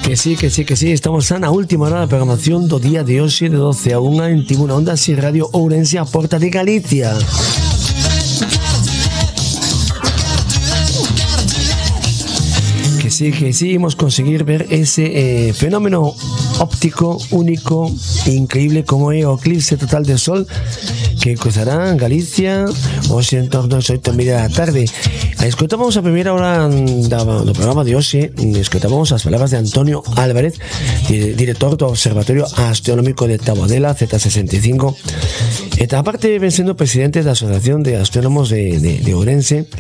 Que sí, estamos na última hora da programación do día de hoxe de 12 a 1 en Tribuna Onda Si Radio Ourense, a Porta de Galicia. Que sí, hemos conseguir ver ese fenómeno óptico único e increíble como é o eclipse total de sol que cruzará en Galicia hoxe en torno ás 8:30 da tarde. Escoitamos a primeira hora do programa de hoxe, escoitamos as palabras de Antonio Álvarez, director do Observatorio Astronómico de Taboadela, Z65, e aparte ven sendo presidente da Asociación de Astrónomos de Ourense,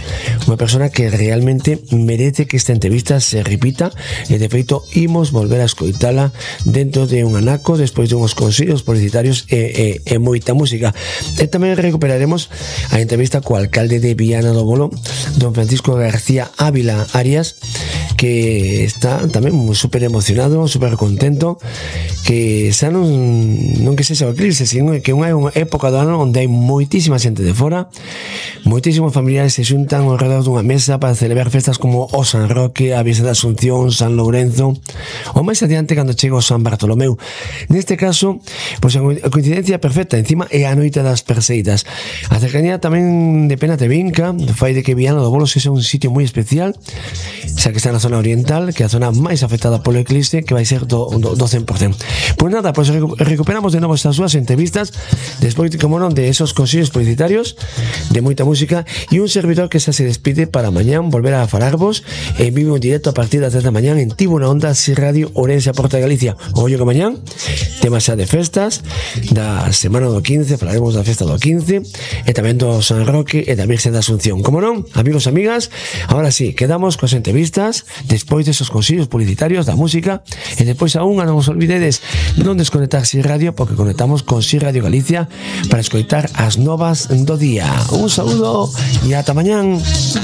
unha persona que realmente merece que esta entrevista se repita, e de feito imos volver a escoitala dentro de un anaco despois de uns consellos publicitarios e moita música. E tamén recuperaremos a entrevista co alcalde de Viana do Bolo, don Francisco García Ávila Arias, que está tamén super emocionado, super contento, que xa non que sexa o eclipse, sino que unha época do ano onde hai moitísima xente de fora, moitísimos familiares se xuntan ao redor dunha mesa para celebrar festas como o San Roque, a Virxe da Asunción, San Lourenzo, ou máis adiante cando chega o San Bartolomeu. Neste caso, pois a coincidencia perfecta, encima é a noite das Perseidas. A cercanía tamén de Pena te vinca, fai de que Viana do Bolo sexa un sitio moi especial, xa que está na zona oriental, que é a zona máis afectada polo eclipse, que vai ser do 100%. Pois nada, pois recuperamos de novo estas súas entrevistas, despois, como non, de esos consellos publicitarios, de moita música, e un servidor que xa se despide para mañán volver a falarvos en vivo en directo a partir das 10 da mañán en Tribuna Onda Si Radio Ourense, a Porta de Galicia. Ollo que mañán temas xa de festas da semana do 15, falaremos da festa do 15 e tamén do San Roque e da Virxe da Asunción. Como non, amigos e amigas, ahora sí, quedamos coas entrevistas despois desos consellos publicitarios da música, e despois aún non vos olvidedes non desconectar Si Radio, porque conectamos con Si Radio Galicia para escoitar as novas do día. Un saúdo e ata mañán.